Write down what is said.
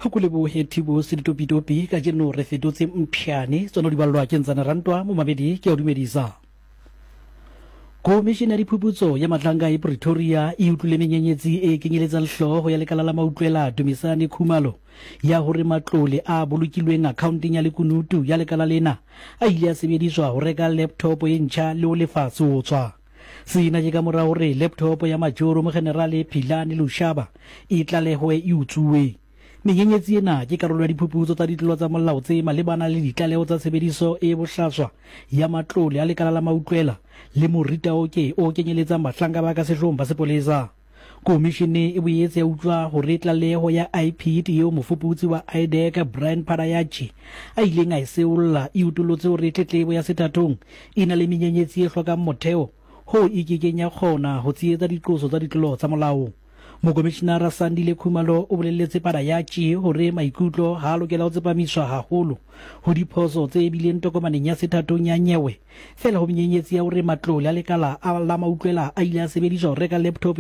Go lebohe Thibo Seditopitopi, kajeno re fetotse mpšhane, tsona di ballwa ke Ntsane Rantwa, momamedi ke a o dumedisa. Komišene ya Diphuputso ya Mahlanka e Pretoria e utlwile menyenyetsi e kenyeletsang hlooho ya lekala la mautlwela Dumisani Khumalo ya hore matlole a bolokilweng akhaonteng ya lekunutu ya lekala lena a ile a sebediswa ho reka laptop e ntjha le ho lefa seotswa. Sena ke ka mora hore laptop ya Majoro Mogenerale Philani Lushaba e tlalehwe e utsuwe. Menyenyetsi ena ke karolo ya diphuputso tsa ditlolo tsa molao tse malebana le ditlaleho tsa tshebediso e bohlaswa ya matlole a lekala la mautlwela le moritaoke o kenyeletsang bahlanka ba ka sehloohong ba sepolesa. Komishene e boetse ya utlwa hore tlaleho ya IPID eo mofuputsi wa IDAC Brian Padayachee a ileng a e seolla e utollotse hore tletlebo ya sethathong e na le menyenyetsi e hlokang motheo hoo e ke keng ya kgona ho tshehetsa diqoso tsa ditlolo tsa molao. Mokomishinara Sandile Khumalo o bolelletse Padayachee hore maikutlo ha a lokela ho tsepamiswa haholo ho diphoso tse bileng tokomaneng ya sethathong ya nyewe feela ho menyenyetsi ya hore matlole a lekala a la mautlwela a ile a sebediswa ho reka laptop e.